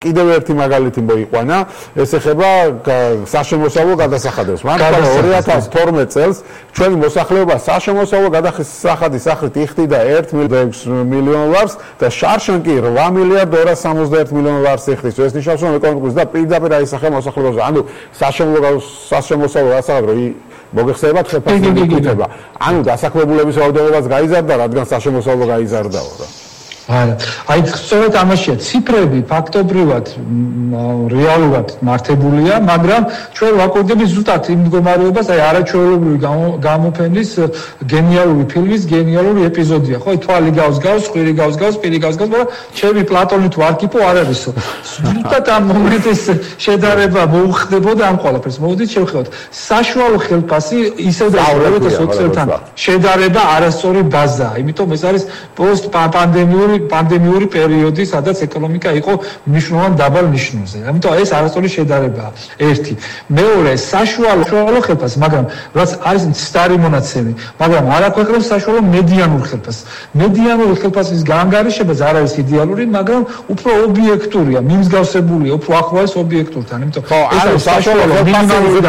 კიდევ ერთი მაგალითი მოიყვანა, ეს ეხება საშემოსავლო გადასახადებს. მან 2012 წელს ჩვენი მოსახლეობა საშემოსავლო გადასახადის სახით იხდიდა 1 მილიონ ლარს და შარშან კი 8 მილიარდ 271 მილიონ ლარს იხდის. ეს ნიშნავს, რომ ეკონომიკის და პირდაპირ აისახება მოსახლეობაზე. ანუ საშემოსავლო გადასახადი მოგეხსენებათ ხელფასი მიკითხება. ანუ დასაქმებულების რაოდენობაც გაიზარდა, რადგან საშემოსავლო გაიზარდაო რა. აი სწორედ ამაშია ციფრები ფაქტობრივად რეალურად მართებულია, მაგრამ ჩვენ ვაკურდებით ზუსტად იმ მდგომარეობას, აი არაჩვეულებრივი გამოფენის გენიალური ფილმის გენიალური ეპიზოდია, ხო? თვალი გავს, ხვირი გავს, პირი გავს, მაგრამ ჩემი პლატონი თუ არქიპო არ არისო. ზუსტად ამ მომენტის შედარება მოუხდებოდა ამ ყველაფერს. მოდით შევხედოთ. საშუალო ხელფასი ისევ და 2020-თან შედარება არასწორი ბაზაა, იმიტომ ეს არის პანდემიური პერიოდი, სადაც ეკონომიკა იყო მნიშვნელოვან დაბალ ნიშნულზე. ამიტომ ეს არასწორი შედარებაა. ერთი. მეორე, საშუალო ხელფასი, მაგრამ რაც არის მცდარი მონაცემი, მაგრამ არ აქვეყნებს საშუალო მედიანურ ხელფასს. მედიანური ხელფასის გაანგარიშებაც არ არის იდეალური, მაგრამ უფრო ობიექტურია, მიმსგავსებულია, უფრო ახლოს ობიექტურთან. ამიტომ ეს არის საშუალო მინიმალური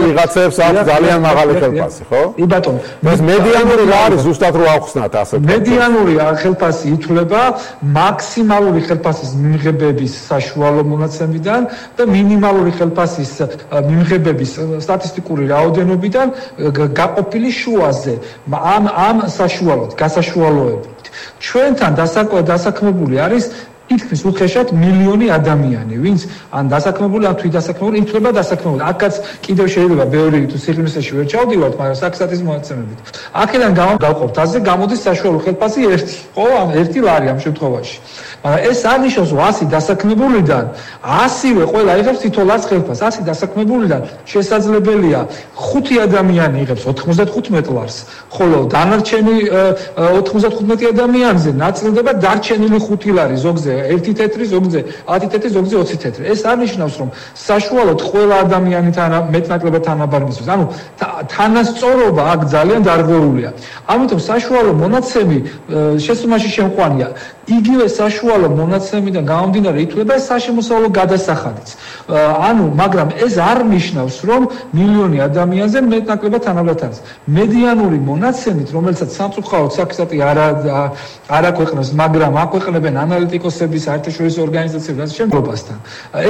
ვიღაცებს აქვს ძალიან მაღალი ხელფასი, ხო? კი ბატონო. ეს მედიანური რა არის ზუსტად რო ავხსნათ ასე? მედიანური ხელფასი ითვლება მაქსიმალური ხელფასის მიმღებების საშუალო მონაცემიდან და მინიმალური ხელფასის მიმღებების სტატისტიკური რაოდენობიდან გაყოფილი შუაზე. ამ საშუალოდ, გასაშუალოებით. ჩვენთან დასაქმებული არის თითქმის უხეშად მილიონი ადამიანი, ვინც ან დასაქმებული, ან თვით დასაქმებული, ითვლება დასაქმებული. აქაც კიდევ შეიძლება ბევრი თუ სიღრმისეში ვერ ჩავდივართ, მაგრამ საქსტატის მონაცემებით. აქედან გავყოფთ, ასე გამოდის საშუალო ხელფასი 1, ხო? ან 1 ლარი ამ შემთხვევაში. მაგრამ ეს არ ნიშნავს, რომ 100 დასაქმებულიდან 100-ვე ყველა იღებს თითო ლარს ხელფასს. 100 დასაქმებულიდან შესაძლებელია 5 ადამიანი იღებს 95 ლარს, ხოლო დანარჩენი 95 ადამიანზე ნაწილდება დარჩენილი 5 ლარი ზოგზე 1 თეთრი, ზოგზე 10 თეთრი, ზოგზე 20 თეთრი. ეს არ ნიშნავს, რომ საშუალოდ ყველა ადამიანი მეტნაკლებად თანაბარი მისვლის. ანუ თანასწორობა აქ ძალიან დარღვეულია. ამიტომ საშუალო მონაცემი შესუმაში შემყვანია. იგივე საშუალო მონაცემიდან გამომდინარე ითვლება საშემოსავლო გადასახადიც. მაგრამ ეს არ ნიშნავს, რომ მილიონი ადამიანზე მეტნაკლებად თანაბარი არის. მედიანური მონაცემით, რომელსაც სამწუხაროდ საქსტატი არ აქვეყნებს, მაგრამ აქვეყნებენ ანალიტიკოსების საერთაშორისო ორგანიზაციები და შემდგომასთან.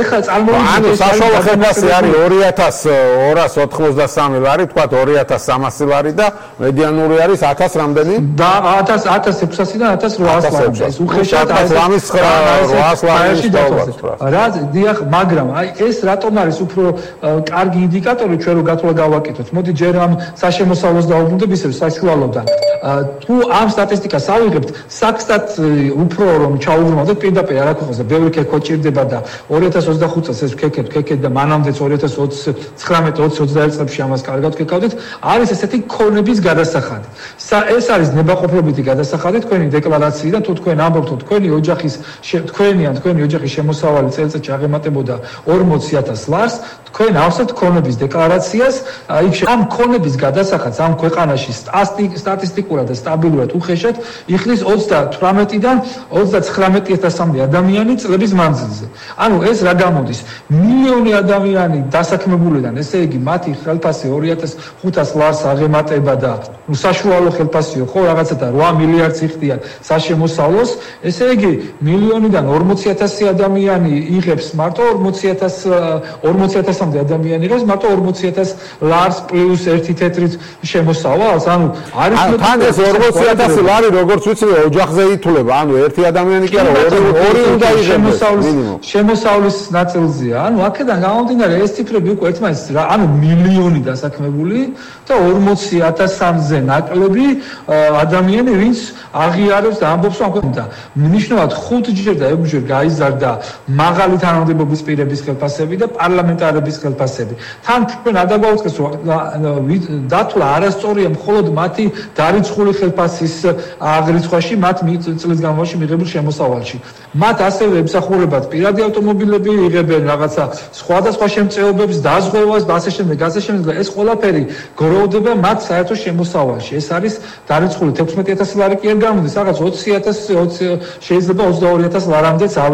ეხლა წარმოვიდგინეთ, საშუალო ხელფასი არის 2293 ლარი, თქვა 2300 ლარი და მედიანური არის 1000 რამდენი? და 1600-დან 1800 ლარი. უხეშად 800 ლარი დავაწყდა. რა დიახ, მაგრამ აი ეს რატომ არის უფრო კარგი ინდიკატორი ჩვენ რო გათვლა გავაკეთოთ. მოდი ჯერ ამ საშემოსავლოს დავუბრუნდეთ ისევ საშუალოდან. თუ ამ სტატისტიკას ავიღებთ, საქსტატ უფრო რომ ჩაუბრუნოთ პირდაპირ არ აქვეყნებს და ბევრი ქექო ჭირდება და 2025 წელს ეს ქეკეთ და მანამდეც 2019-20 წლებში ამას კარგად ქეკავდით, არის ესეთი ქონების გადასახადი. ეს არის ნებაყოფლობითი გადასახადი თქვენი დეკლარაციიდან, თუ თქვენ ამბობთ, თქვენი ოჯახის შემოსავალი წელიწადში აღემატებოდა 40,000 ლარს, თქვენ ავსებთ ქონების დეკლარაციას, ამ ქონების გადასახადს ამ ქვეყანაში სტატისტიკურად და სტაბილურად უხეშად იხდის 38-დან 39,000-მდე ადამიანი წლების მანძილზე. ანუ ეს რა გამოდის? მილიონი ადამიანი დასაქმებულიდან, ესე იგი მათი ხელფასი 2500 ლარს აღემატება და საშუალო ხელფასიო, ხო, რაღაცა და 8 მილიარდს იხდიან საშემოსავლოს, ესე იგი მილიონიდან 40,000 ადამიანი იღებს მარტო 40,000-მდე ადამიანი იღებს მარტო 40,000 ლარს პლუს 1 თეთრით შემოსავალს. ანუ არის თან ეს 40,000 ლარი როგორც ვიცი ოჯახზე ითვლება. ანუ ერთი ადამიანი კი არა, ორი უნდა იღებს შემოსავლის ნაწილზეა. ანუ აქედან გამომდინარე ეს ციფრები უკვე ერთმანეთს ანუ მილიონი დასაქმებული და 40,000-მზე ნაკლები ადამიანი, ვინც აღიარებს და ამბობს, რომ და მნიშვნელოვნად 5-ჯერ და 6-ჯერ გაიზარდა მაღალი თანამდებობის პირების ხელფასები და პარლამენტარების ხელფასები. თან თქვენ არ დაგვაუწყეს, რომ დათვლა არასწორია მხოლოდ მათი დარიცხული ხელფასის აღრიცხვაში, მათ წლის განმავლობაში მიღებულ შემოსავალში. მათ ასევე ემსახურებათ პირადი ავტომობილები, იღებენ რაღაცა სხვადასხვა შემწეობებს, დაზღვევას, ასე შემდეგ. ეს ყველაფერი გროვდება მათ საერთო შემოსავალში. ეს არის დარიცხული 16,000 ლარი კი არ გამოდის, რაღაც 20,000 შეიძლება 22,000 ლარამდეც